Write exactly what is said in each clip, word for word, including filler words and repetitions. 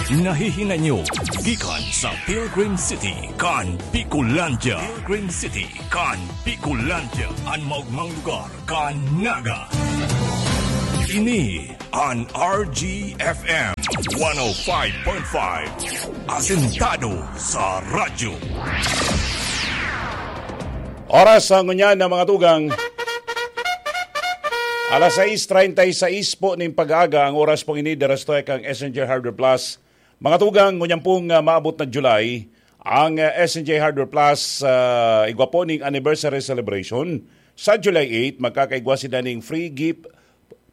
Nahihinanyo gikan sa Pilgrim City kan Bicolandia. Pilgrim City kan Bicolandia, an maogmang lugar kan Naga. Ini an R G F M one oh five point five, asentado sa radyo. Oras sa ngunyan na mga tugang. Alas sais treinta y seis po nin pag-aaga ang oras pong ini, dara sa tuya kan S N J Hardware Plus. Mga tugang, ngunyan pong, ah, maabot na July, ang, ah, S N J Hardware Plus, ah, igwa po ning anniversary celebration. Sa July eight, magkakaigwa sila ning free gift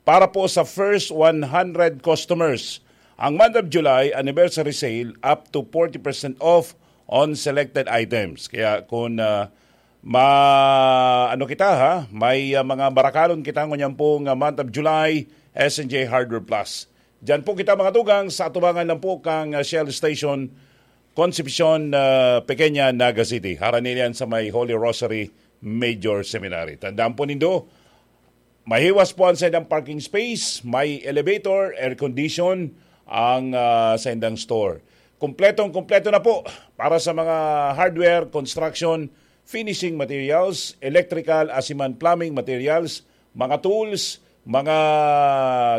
para po sa first one hundred customers. Ang month of July, anniversary sale, up to forty percent off on selected items. Kaya kung, ah, ma-, ano kita, ha? May, ah, mga barakalon kita ngunyan pong, ah, month of July, S N J Hardware Plus. Diyan po kita, mga tugang, sa atubangan lang po kang, ah, Shell Station, Concepcion, ah, Pequeña, Naga City. Harani niyan sa may Holy Rosary Major Seminary. Tandaan po nindo, mahiwas po ang saindang parking space, may elevator, air condition ang, ah, saindang store. Kompletong-kompleto na po para sa mga hardware, construction, finishing materials, electrical, asin man plumbing materials, mga tools, mga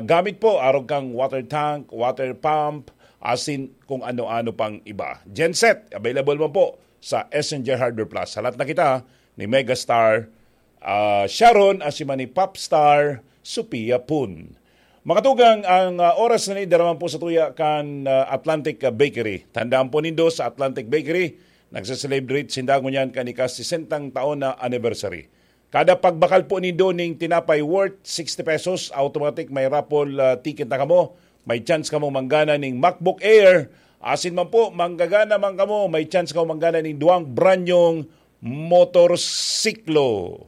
gamit po, arog kan water tank, water pump, asin kung ano-ano pang iba. Genset, available man po sa S N J Hardware Plus. Halat na kita ni Megastar, ah, Sharon, asin man ni Popstar Sophia Pun. Mga tugang, ang, ah, oras na ni daraman po sa tuya kan, ah, Atlantic, ah, Bakery. Tandaan po nindo, sa Atlantic Bakery, nagse-celebrate sinda ngunyan kan ika-sesentang taon na anniversary. Kada pagbakal po nindo ning tinapay worth sixty pesos, automatic may raffle, ah, ticket na kamo. May chance kamo manggana ning MacBook Air. Asin man po, manggagana man kamo, may chance kamo manggana ning duwang brand nyong motorsiklo.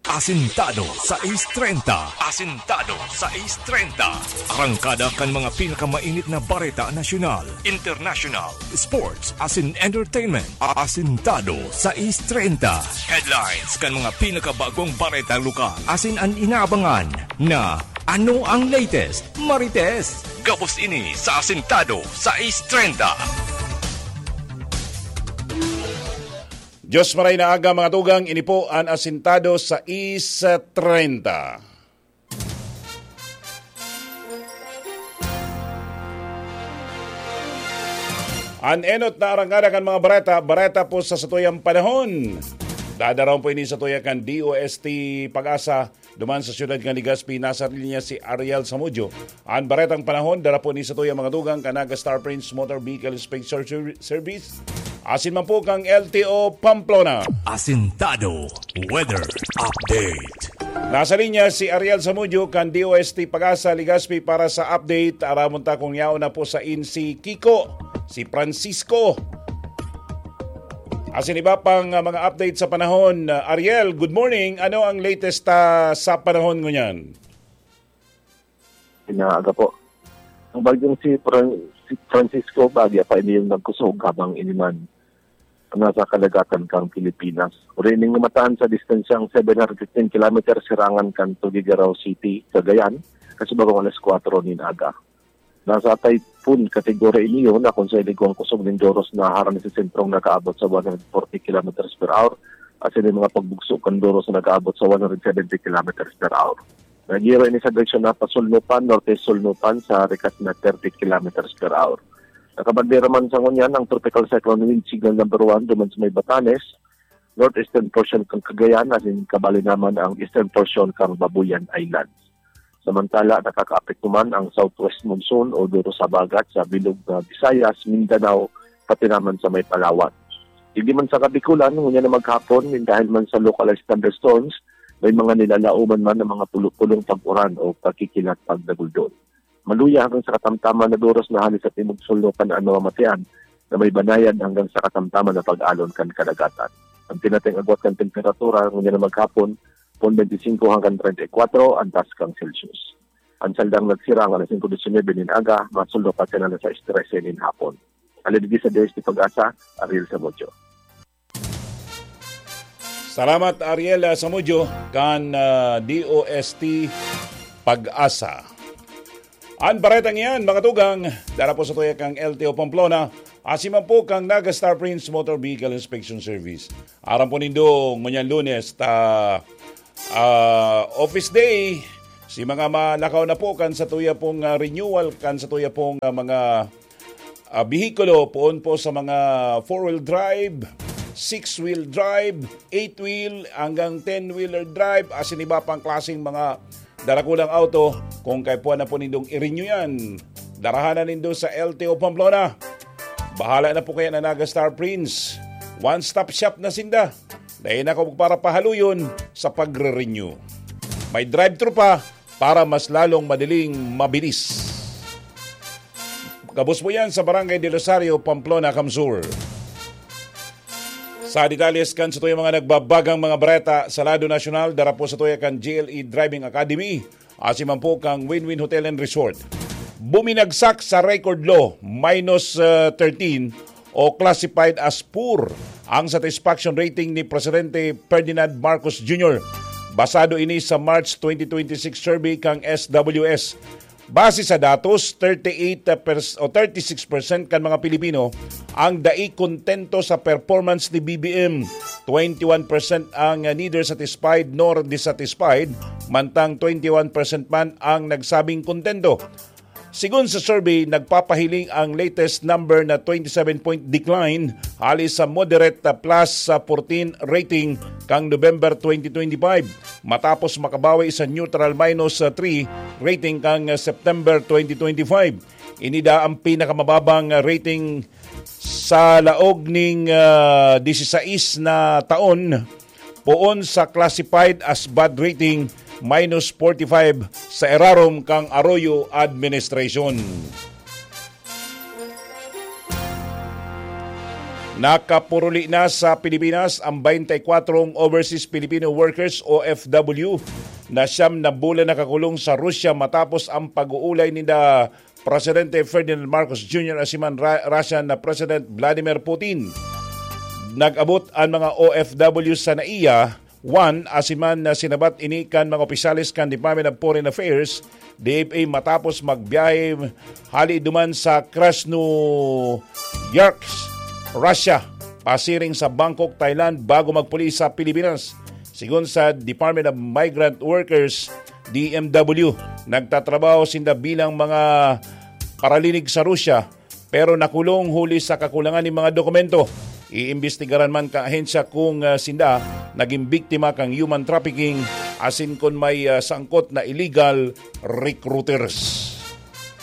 Asintado sais treinta. Asintado sais treinta. Arangkada kan mga pinakamainit na bareta nasyonal, international, sports, asin entertainment. Asintado sais treinta. Headlines kan mga pinakabagong bareta lokal. Asin an inaabangan na ano ang latest, Marites? Gabos ini sa Asintado sais treinta. Diyos maray na aga, mga tugang, ini po an Asintado sais treinta. An enot na arangkada kan mga bareta, bareta po sa satuyang panahon. Dadarawon po ini sa tuya kan D O S T Pag-asa, duman sa siyudad kan Legazpi, nasa linya si Ariel Samudio. An baretang panahon, dara po ni sa tuya mga tugang kan Naga Star Prince Motor Vehicle Inspection Ser-, Service. Asin man po kang L T O Pamplona. Asintado Weather Update. Nasa linya si Ariel Samudio kan D O S T Pag-asa Legazpi para sa update. Aramon ta kung yaon na po sa in si Kiko, si Francisco. Asin iba pang, ah, mga update sa panahon. Ah, Ariel, good morning. Ano ang latest, ah, sa panahon ngunyan? Inaaga po. Ang bagyong si Fran-, si Francisco, bagya pa ini yung nagkusog habang iniman nasa kadagatan kang Pilipinas. Urining matahan sa distansyang seven hundred fifteen kilometers sirangan kan Tuguegarao City, Cagayan, kasi bagong alas kwatro nin aga. Nasa typhoon category ini yun na kung sa iligwang kusog nin Doros na harani sa sentrong nakaabot sa one hundred forty kilometers per hour, at sa mga pagbugso kan Doros na nakaabot sa one hundred seventy kilometers per hour. Nagiro ini sa direksyon na pasulnupan, norte-sulnupan sa rikas na thirty kilometers per hour. Nakabandera man sa ngunyan ang Tropical Cyclone Wind Signal number one duman sa may Batanes, northeastern portion kan Cagayan, asin kabali naman ang eastern portion kan Babuyan Islands. Samantala, nakakaapekto man ang southwest monsoon o Doros Habagat sa bilog na Visayas, Mindanao, pati naman sa may Palawan. Digdi man sa Kabikulan, ngunyan na maghapon, nin dahil man sa localized thunderstorms, may mga nilalaoman man ng mga pulo-pulong pag-uran o pagkikilat pagdaguldol. Maluya hanggang sa katamtaman na Doros na hali sa timog-sulnupan an mamamatean na may banayad hanggang sa katamtaman na pag-alon kan kadagatan. Ang pinating agwat kan temperatura ngunyan na maghapon, pon twenty-five hanggang treinta y cuatro an taas kan Celsius. Ang saldang nagsirang alas singko disinebe nin aga, masulnupan sa alas sais trese nin hapon. Alagad sa D O S T Pag-asa, Ariel Samudio. Salamat, Ariel, ah, Samudio, kan, ah, D O S T Pag-asa. An baretang iyan, mga tugang, dara po sa tuya kang L T O Pamplona, asin man po kang Naga Star Prince Motor Vehicle Inspection Service. Aram po nindo, ngunyan Lunes, ta, ah, office day, si mga malakaw na po kan sa tuya pong, ah, renewal, kan sa tuya pong, ah, mga, ah, bihikulo, poon po sa mga four-wheel drive, six-wheel drive, eight-wheel, hanggang ten-wheeler drive, asin iba pang klaseng mga darakulang auto. Kung kaipuhan na po nindong i-renew yan, darahan na nindo sa L T O Pamplona. Bahala na po kaya na Naga Star Prince. One-stop shop na sinda. Dahil na kung para pahaluyon sa pagre-renew. May drive-thru pa para mas lalong madaling mabilis. Gabos po yan sa Barangay del Rosario, Pamplona, Kamsur. Sa detalles kan sa tuyang mga nagbabagang mga bareta sa lado nasyonal, dara po sa tuya kan G L E Driving Academy, asin man po kang Win-Win Hotel and Resort. Buminagsak sa record low, minus, uh, thirteen o classified as poor ang satisfaction rating ni Presidente Ferdinand Marcos Junior. Basado ini sa March twenty twenty-six survey kang S W S. Base sa datos, thirty-eight pers-, o thirty-six percent kan mga Pilipino ang dai kontento sa performance ni B B M. Twenty-one percent ang neither satisfied nor dissatisfied, mantang twenty-one percent man ang nagsabing kontento. Sigon sa survey, nagpapahiling ang latest number na twenty-seven point decline hali sa moderate plus sa fourteen rating kang November twenty twenty-five, matapos makabawi sa neutral minus three rating kang September twenty twenty-five. Ini daa ang pinakamababang rating sa laog ning, ah, disisais na taon, poon sa classified as bad rating, minus forty-five sa irarom kang Arroyo administration. Nakapuruli na sa Pilipinas ang twenty-four overseas Filipino workers, O F W, na siyam na bulan nakakulong sa Russia matapos ang pag-uulay ninda Presidente Ferdinand Marcos Junior asin man Ra-, Russian na President Vladimir Putin. Nag-abot ang mga O F W sa NAIA one asin man na sinabat ini kan mga opisyales kan Department of Foreign Affairs, D F A, matapos magbiyahe hali duman sa Krasnoyarsk, Russia, pasiring sa Bangkok, Thailand, bago magpuli sa Pilipinas. Sigon sa Department of Migrant Workers, D M W, nagtatrabaho sinda bilang mga paralinig sa Russia, pero nakulong huli sa kakulangan nin mga dokumento. Iimbestigaran man kan ahensya kung, ah, sinda nagin biktima kan human trafficking asin kun may, ah, sangkot na illegal recruiters.